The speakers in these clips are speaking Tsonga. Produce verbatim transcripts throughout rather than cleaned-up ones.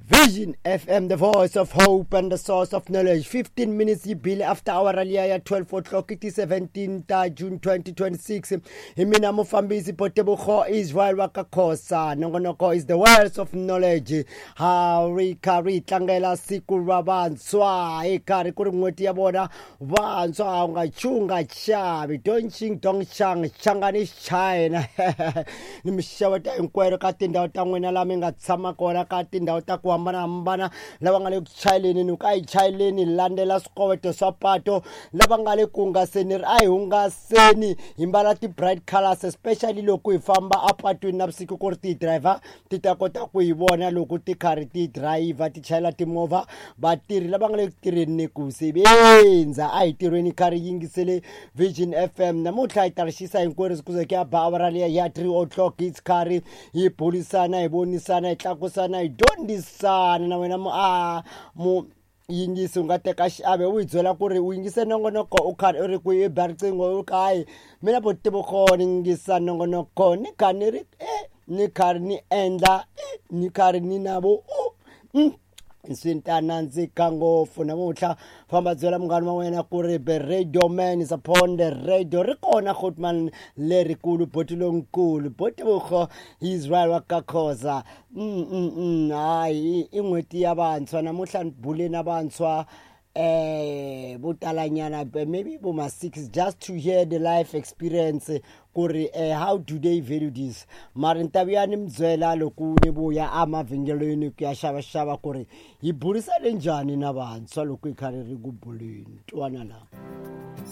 Vision F M, the voice of hope and the source of knowledge. fifteen minutes yi bile after hour liya ya twelve o'clock, i ti seventeen ta June twenty twenty-six. Hi mina mufambisi Potebogo Israel wa ka Khosa. Nongonoko is the words of knowledge. Ha ri karhi hi tlangela siku ra vantshwa, hi karhi ku ri n'hweti ya vona vantshwa. U nga chunga chavi, don't ching dong chang changani China. Ni mixeweta hinkwero ka tindhawu ta n'wina laha mi nga tshama kona, ka tindhawu ta ku hambanahambana. Lava nga le ku chayeleni, ni ku a hi chayeleni hi landzela swikoweto swa pato. Lava nga le ku hungaseni, ri a hi hungaseni hi mbala ti-bright colors, especially loko hi famba apatwini navusiku, ku ri ti-driver ti ta kota ku hi vona loko ti karhi ti driver, ti chayela timovha. Vatirhi lava nga le ku tirheni, ni ku sebenza, a hi tirhweni karhi yingisele Vision F M. Namuntlha hi ta ri xisa hinkwerhu ku ze ku ya ba awara liya ya three o'clock. Hi karhi hi burisana, hi vonisana, hi tlakusana, hi dyondzisana. Na wena mu a mu yingisi u nga teka xiave, u hi byela ku ri u yingise nongonoko u karhi u ri ku i ba riqingho u kayi mina Botebogo, ni yingisa nongonoko ni kha ni ri e ni karhi ni endla e ni karhi ni na vo u swi ta nandzika ngopfu namuntlha. Famba byela munghana wa wena ku ri the radio man is upon the radio. Ri kona Grootman lerikulu, boti lonkulu Botebogo Israel wa ka Khoza. mm, mm, mm. Hayi, i n'hweti ya vantshwa namuntlha, ni bule na vantshwa eh vo talanyana, maybe bo ma six, just to hear the life experience ku ri eh, how do they value this. Mara ni ta vuya ni mi byela loko ni vuya emavhengeleni ku ya xavaxava ku ri hi burisane njhani na vantshwa loko hi karhi ri ku buleni. Twana la.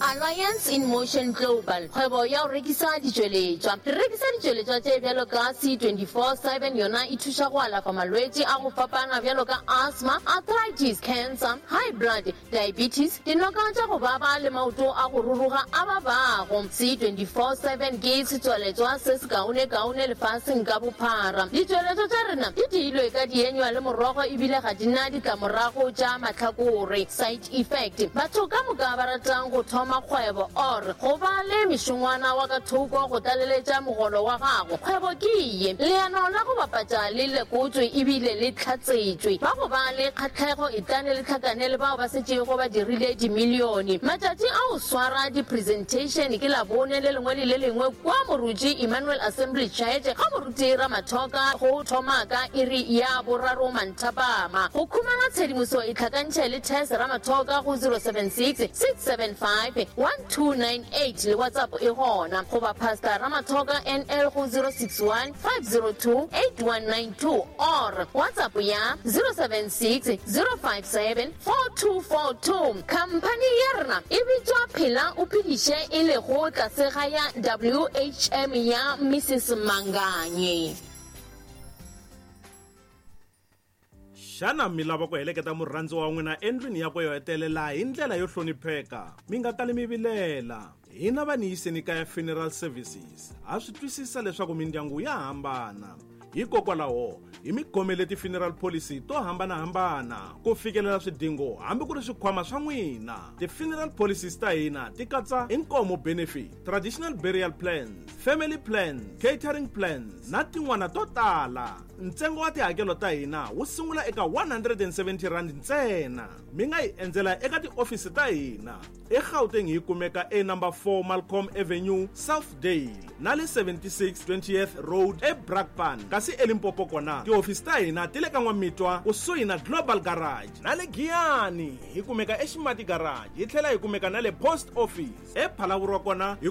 Alliance in Motion Global, kgwebo ya go rekisa ditšweletšwa. Re rekisa ditšweletšwa tše bjalo ka C twenty-four seven, yona e thuša go alafa malwetši a go fapana bjalo ka asthma, arthritis, cancer, high blood, diabetes, dinoka tša go baba le maoto a go ruruga a babago. C twenty-four seven ke setswaletšwa se se kaone-kaone lefaseng ka bophara. Ditšweletšwa tša rena di diilwe ka dienywa le morogo, ebile ga di na ditlamorago tša mahlakore, side effect. Batho ka moka ba ratang go thoma kgwebo or go ba le mešongwana wa ka thoko go tlaleletša mogolo wa gago, kgwebo ke ye. Leano la go bapatša le lekotswe ebile le tlhatsetšwe. Ba go ba le kgatlhego, etlane le tlhakane le bao ba setšego ba dirile dimilione. Matšatši a go swara di-presentation ke Labone le lengwe le le lengwe kwa Moruti Emmanuel Assembly Church ga Moruti Ramathoka, go thoma ka iri ya boraro manthapama. Go khumana tshedimoso, e tlhakantšhe le Tess Ramathoka go zero seven six, six seven five, one two nine eight, le WhatsApp e gona, goba Pastor Ramathoka N L go zero six one, five zero two, eight one nine two or WhatsApp ya zero seven six, zero five seven, four two four two. Khamphani ya rena e bitswa Phela o Phediše, e lego tlase ga ya W H M ya Missus Manganye. Xana mi lava ku heleketa murhandzi wa n'wina endlwini yakwe yo hetelela hi ndlela yo hlonipheka, mi nga tali mi vilela? Hina va Niyiseni Kaya Funeral Services ha swi twisisa leswaku mindyangu ya hambana, hikokwalaho hi mi khomele ti-funeral policy to hambanahambana ku fikelela swidingo hambi ku ri swikhwama swa n'wina. Ti-funeral policies ta hina ti katsa inkomo benefit, traditional burial plans, family plans, catering plans na tin'wana to tala. Ntsengo wa tihakelo ta hina wu sungula eka one hundred and seventy rand ntsena. Mi nga hi endzela eka tiofisi ta hina eGauteng, hi kumeka e number four Malcolm Avenue, Southdale, na le seventy-six twentieth Road eBrakpan, kasi eLimpopo kona tihofisi ta hina ti le ka N'wamitwa kusuhi na Global Garage, na le Giyani hi kumeka eXimati Garage, hi tlhela hi kumeka na le Post Office ePhalavurwa kona hi.